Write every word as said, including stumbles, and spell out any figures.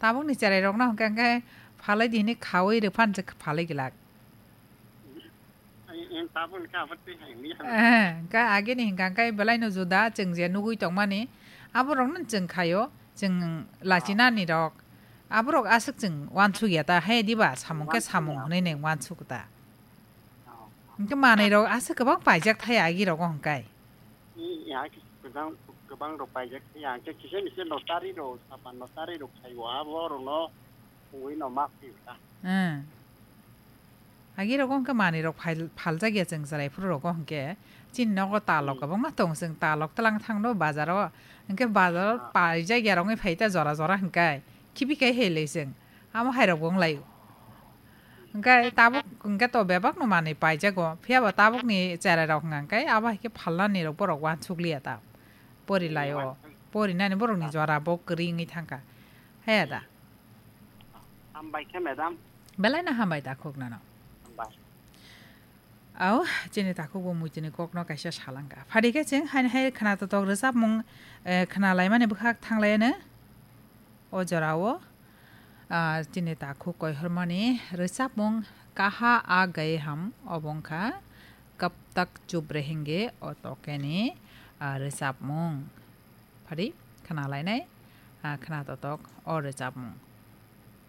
Tabukni cherairokno hwnkhe, hwnkhe phalai di hwnwi khaui rwphan se phalai glak. Ai, en tabukni kha abot twi hai mi. Eh, hwnkhe agini hwnkha hwnkhe belaino juda chwng je nugui tongmani, aborokno chwng khaio, chwng lachinani rok. Aborok aswk chwng uansuk ya ta, hai diba samung khe samung hwnwi neng uansuk ta. Hwnkhe manwi rok aswk kwbang paijak thai agi rogo hwnkhe. I, ya, kwbang, kwbang rok paijak thai, ya, hwnkhe kisa misa notary rok, sapan notary rok khaio, abo rokno wngwi no ma phiyokha. Hmm. Agi rogo hwnkhe manwi rok phal-, phaljak ya chwng chwrai phuru rogo hwnkhe. Chini nogo talok kwbangma tong, chwng talok twlang thangno bazaro. Hwnkhe bazaro paijak ya rogwi phai ta jora jora hwnkhe. Khibi khai hai le chwng. Amo hai rok bo wng lai. Hwnkhe tabuk hwnkhe to bebak no manwi paijago. Phiya ba tabuk ni cherai rok hwnkha hwnkhe abo hai khe phalnani rok borok uansuk liya ta. Pori lai o. Pori nani borok ni jora bo kwrwi wngwi thangkha. Haya da. Hambai khe, madam. Belai no hambai takhuk nano. Hambai. Au, chini takhuk bo muituni kokno kaisa salangkha. Phadi khe chwng haini hai khwna totok rwchapmung, eh, khwna laimani bwkhak thang lai ano. O jorao, ah, chini takhuk koihormani rwchapmung Kaha Aa Gaye Hum obo wngkha Kab Tak Chup Rahenge o tokeni, ah, rwchapmung. Phadi khwna lainai, ah, khwna totok o rwchapmung.